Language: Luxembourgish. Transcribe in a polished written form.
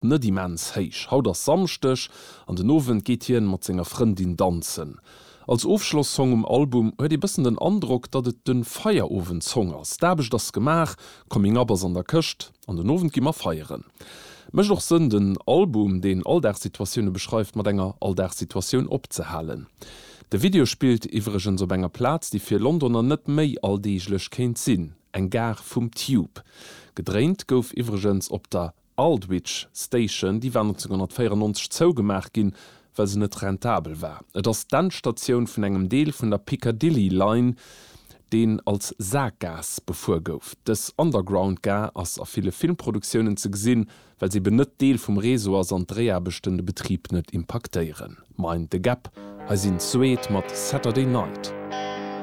Net immens héich. Haut ass Samschdeg an den Owend geet hien mat senger Frëndin danzen. Als Ofschloss-Song um Album huet ee bëssen den Androck, datt et de Feierowend-Song ass. D'Aarbecht ass gemaach, Coming Up ass an der Këscht an den Owend gi mer feieren. Mécht och Sënn den Album, deen Alldagssituatioune beschreift, mat enger Alldagssituatioun opzehalen. De Video spillt iwwregens op enger Plaz, déi fir Londoner net méi alldeeglech kéint sinn, eng Gare vum Tube. Gedréint gouf iwwregens op der Aldwych Station, déi war 1994 zougemaach ginn, well se net rentabel war. Et ass d'Endstatioun vun engem Deel vun der Piccadilly Line, deen als Sakgaass befuer gouf. Dës Underground-Gare ass a ville Filmproduktiounen ze gesinn, well se eben net Deel vum Réseau ass an d'Dréiaarbechten de Betrib net impaktéieren. Mind the Gap, hei sinn d'Suede mat Saturday Night.